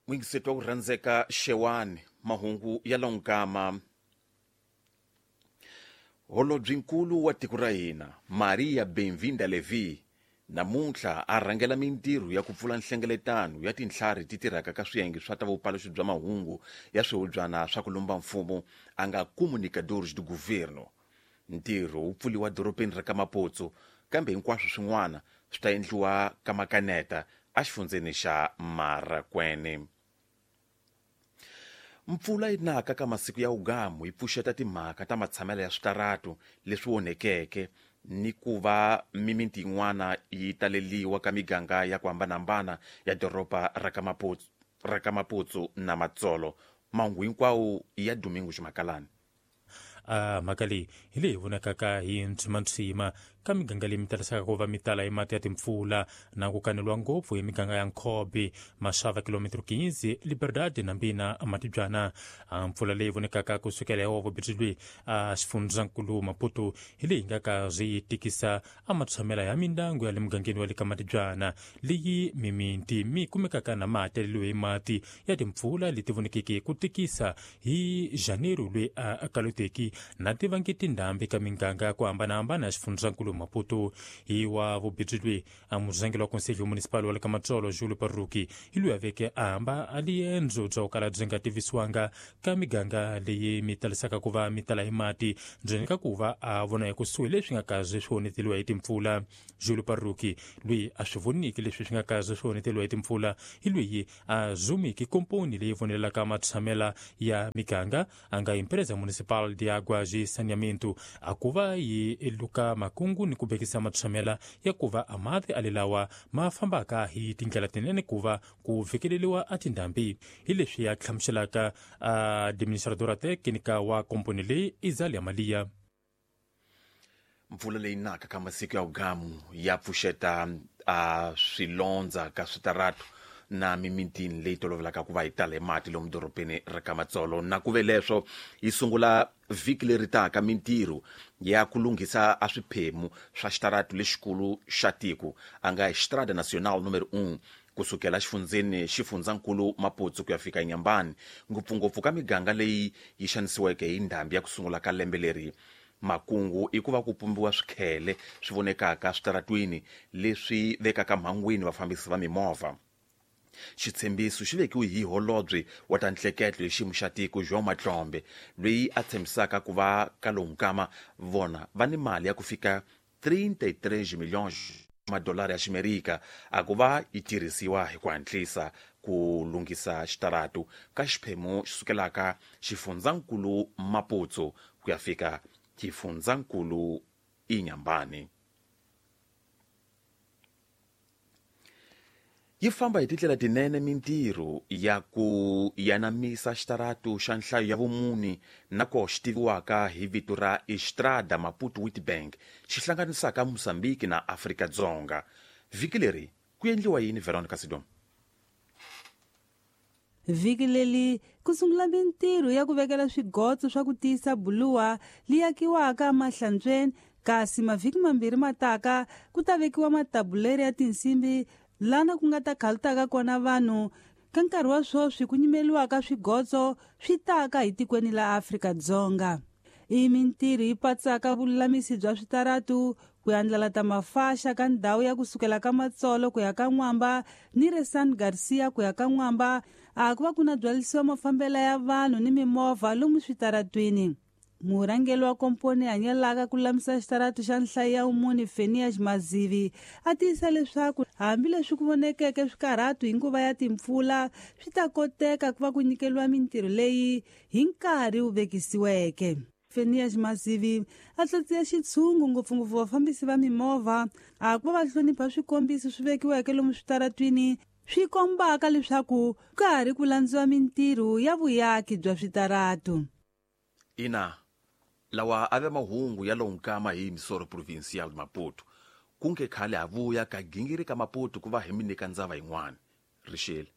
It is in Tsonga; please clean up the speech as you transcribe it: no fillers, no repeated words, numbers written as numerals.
N'wingiseti wa ku rhandzeka Xewani, mahungu ya lonkama. Holobyenkulu wa tiko ra hina Maria Benvinda Levy namuntlha a rhangela mintirho ya ku pfula nhlengeletano ya tintlhari ti tirhaka ka swiyenge swa ta vupaluxi bya mahungu ya swihubyana swa ku lumba mfumo a nga comunicadores do governo. Ntirho wu pfuliwa dorobeni ra ka Maputsu, kambe hinkwaswo swin'wana swi ta endliwa ka Makaneta exifundzeni xa Marakwene. Mpfula yi naka ka masiku ya wugamu yi pfuxeta timhaka ta matshamelo ya switaratu leswi onhekeke ni ku va mimiti yin'wana yi taleliwa ka miganga ya ku hambanahambana ya doroba ra ka Maputsu, ra ka Maputsu na Matsolo. Mahungu hinkwawo ya Domingo Ximakalani. A mhaka leyi hi leyi vonakaka hi ntshwimantswima ka miganga leyi mi talisaka ku va mi tala hi mati ya timpfula na ku kaneliwa ngopfu hi miganga ya Nkhobi, Maxava, kilometro 15, Liberdade na Mbina Matibyana. A mpfula leyi vonekaka ku sukela hi wavubirhi lweyi a xifundzankulu Maputo hi leyi nga ka zwi tikisa a matshamela ya mindyangu ya le mugangeni wa le ka Matibyana leyi mimiti mi kumekaka na ma taleliwe hi mati ya timpfula leti vonekeke ku tikisa hi Janeiro lweyi a kaloteki na tivangi tindhambi ka miganga ya ku hambanahambana ya xifundzankulu Maputo. Hi wa vubirhi lweyi a murhangeri wa Conselho Municipal wa le ka Matsolo Julio Parruki hi loyi a veke a hamba a liendzo bya ku kala byi nga tivisiwanga ka miganga leyi mi talisaka ku va mi tala hi mati ndzeni ka ku va a vona hi kusuhi leswi nga kaze swi onheteliwa hi timpfula. Julio Parruki loyi a swi voniki leswi swi nga kaze swi onheteliwa hi timpfula hi loyi a zumiki komponi leyi vonelelaka matshamela ya miganga a nga Empresa Municipal de Águas e Saneamento a ku va yi luka makungu ni ku vekisa matshamela ya ku va a mati a lelawa ma fambaka hi tindlela tinene ku va ku fikeleliwa a tindhambi. Hi leswi a hlamuselaka administradora técnica wa komponi leyi Izalia Malia. Mpfula leyi naka ka masiku ya wugamu ya pfuxeta a swilondza ka switaratu na mimitini leyi tolovelaka ku va yi tala hi mati lomu dorobeni ra ka Matsolo. Na ku ve leswo yi sungula vhiki leri taka mintirho ya ku lunghisa a swiphemu swa xitaratu lexikulu xa tiko a nga Estrada Nacional número 1 kusukela xifundzeni xifundzankulu Maputsu ku ya fika Nyambani, ngopfungopfu ka miganga leyi yi xanisiweke hi ndhambi ya ku sungula ka lembe leri. Makungu i ku va ku pumbiwa swikhele swi vonekaka switaratwini leswi vekaka mhangwini vafambisi va mimovha. Xitshembiso xi vekiwe hi holobye wa ta nhleketlo hi xiyimo xa tiko João Matlombe, loyi a tshembisaka ku va ka lowu nkama vona va ni mali ya ku fika 33 milhões madolara ya Ximerika a ku va yi tirhisiwa hi ku hatlisa ku lunghisa xitaratu ka xiphemu xi sukelaka xifundzankulu Maputsu ku ya fika xifundzankulu Inhambane. Yi famba hi tindlela tinene mintirho ya ku yanamisa xitaratu xa nhlayo ya vumune na ko xi tiviwaka hi vito ra Estrada Maputo Witbank xi hlanganisaka Mozambique na Afrika-Dzonga. Vhiki leri ku endliwa yini Veronica Sidom? Vhiki leri ku sungula mintirho ya ku vekela swigotso swa ku tiyisa buluwa li akiwaka emahlantsweni, kasi mavhiki mambirhi mataka ku ta vekiwa matabuleri ya tinsimbi lana ku nga ta khalutaka kona vanhu. Ka nkarhi wa sweswi ku nyimeliwaka swigotso swi taka hi tikweni la Afrika-Dzonga. I mintirho yi patsaka vululamisi bya switaratu, ku andlala ta mafaxa ka ndhawu ya kusukela ka Matsolo ku ya ka N'wamba ni re San Garcia ku ya ka N'wamba, a ku va ku na byalisiwa mafambela ya vanhu ni mimovha lomu switaratwini. Murhangeri wa komponi hanyelaka ku lulamisa xitaratu xa nhlayo ya vumune Fenias Mazivi a tiyisa leswaku hambileswi ku vonekeke swikarhatu hi nguva ya timpfula swi ta koteka ku va ku nyikeriwa mintirho leyi hi nkarhi wu vekisiweke. Fenias Mazivi a tlatsiya xitshungu ngopfungopfu vafambisi va mimovha a ku va va hlonipha swikombiso swi vekiweke lomu switaratwini swi kombaka leswaku ka ha ri ku landziwa mintirho ya vuyaki bya switaratu. Ina, lawa a ve mahungu ya lowu nkama hi Misoro Provincial Maputo. Ku nge khale ha vuya ka gingiri ka Maputo ku va hi mi nyika ndzava yin'wana. Rixile.